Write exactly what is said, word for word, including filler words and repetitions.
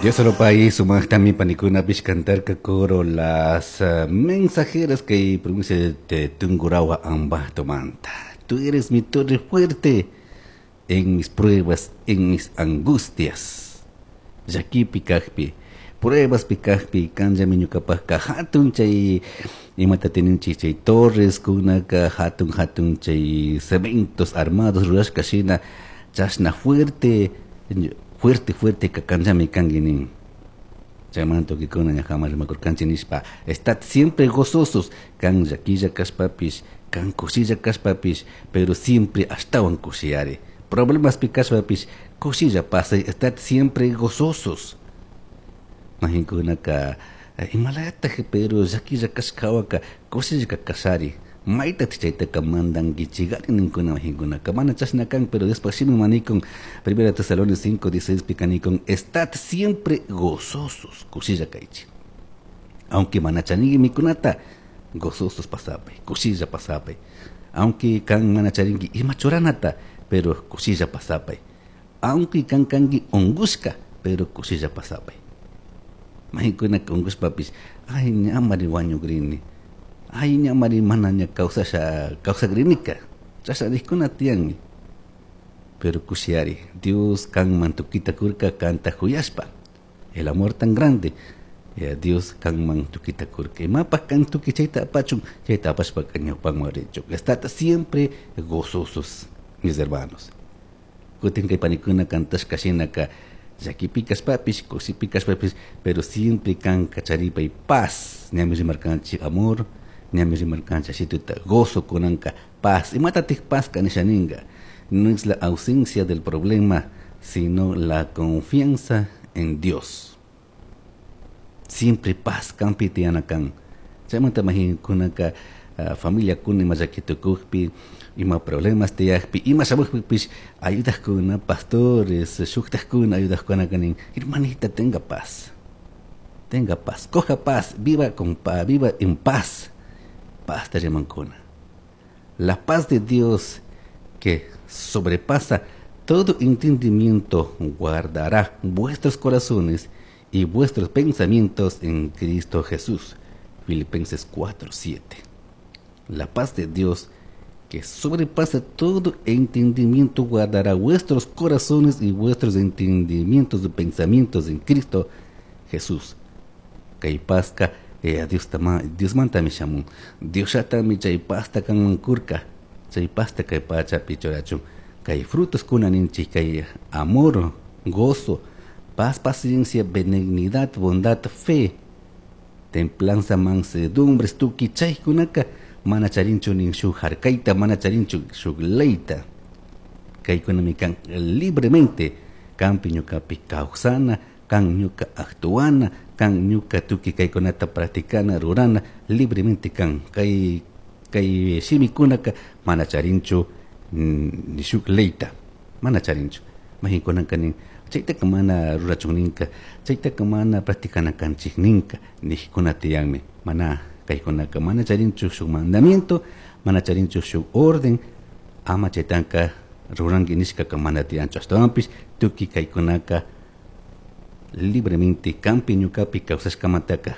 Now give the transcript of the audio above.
Dios solo país, sumaqtami panikunapish cantarka coro las uh, mensajeras que provincia de Tungurahua, Ambato Manta. Tú eres mi torre fuerte en mis pruebas, en mis angustias. Llaquipi kajpi, pruebas kajpi, kanllami ñukapajka hatun chay imata tininchik chay torres kunaka hatun hatun chay cementos armados rurashka shina chashna fuerte fuerte fuerte ka kanllami kanki nin. Chaymanta tukikuna ñajaman rimakurkanchik nishpa estad siempre gozosos kan llaquilla kashpapish kan kushilla kashpapish pero siempre ashtawan kushiyari problemas pi kashpapish kushilla pasay estad siempre gozosos mahinkunaka imalataj pero llaquilla kashkawaka kushilla kashari mayta chaytaka mandankichigari ninkuna mahinkunaka mana chashna kan pero después shimi manikun Primera Tesalonicenses cinco dieciséis pikanikun estad siempre gozosos kushilla kaychik aunque mana charinki mikunata gozosos pasapay kushilla pasapay aunque kan mana charinki ima churanata pero kushilla pasapay aunque kan kanki unkushka pero kushilla pasapay mahinkunaka unkushpapish ay ñamari wañukrini ay ñamari mana ña kawsasha kawsakrinika chashna nijkuna tiyanmi pero kushiyari Dios kanman tukita kurka kanta kuyashpa el amor tan grande ya Dios kanman tukita kurka imapaj kan tuki chayta apachun chayta apashpaka ñawpanman richun estad siempre gozosos mis hermanos kutin kay panikuna kantashka shinaka llaquipi kashpapish kushipi kashpapish pero siempre kan kacharipay paz ñami rimarkanchik amor ñami rimarkanchik ashituta gozo kunanka paz imatatik paz kanisha ninka no es la ausencia del problema sino la confianza en Dios siempre paz kanpi tiyana kan chaymanta mahinkunaka uh, familia kuna ima llaki tukukpi ima problemas tiyakpi ima shamukpipish ayudajkuna pastores shuktajkuna ayudajkuna kanin hermanita tenga paz tenga paz coja paz viva con paz viva en paz paz te rimankuna la paz de Dios que sobrepasa todo entendimiento guardará vuestros corazones y vuestros pensamientos en Cristo Jesús. Filipenses cuatro siete. La paz de Dios que sobrepasa todo entendimiento guardará vuestros corazones y vuestros entendimientos y pensamientos en Cristo Jesús. Kay pazka eh, Dios tama, Dios mantami shamun. Dios shatami chay pazta kanman kurka. Chay pazta kay pachapi churachun. Kay frutos kuna ninchik, kay amor, gozo, paz, paciencia, benignidad, bondad, fe, templanza, mansedumbre, tuki chaykunaka mana charinchu nin shuk harkayta, mana charinchu shuk leyta. Kaykunami kan libremente kanpi ñukapi kawsana, kan ñuka actuana, kan ñuka tuki kaykunata practicana, rurana, libremente kan. Kay, kay shimikunaka mana charinchu ni shuk leyta, mana charinchu. Mahinkunaka nin chaytaka mana rurachun ninka, chaytaka mana practicana kanchik ninka, nijkuna tiyanmi. Mana kaykunaka mana charinchu shuk mandamiento, mana charinchu shuk orden, ama chaytanka ruranki nishkaka mana tiyanchu. Ashtawanpish tuki kaykunaka libremente kampi ñukapi kawsashkamantaka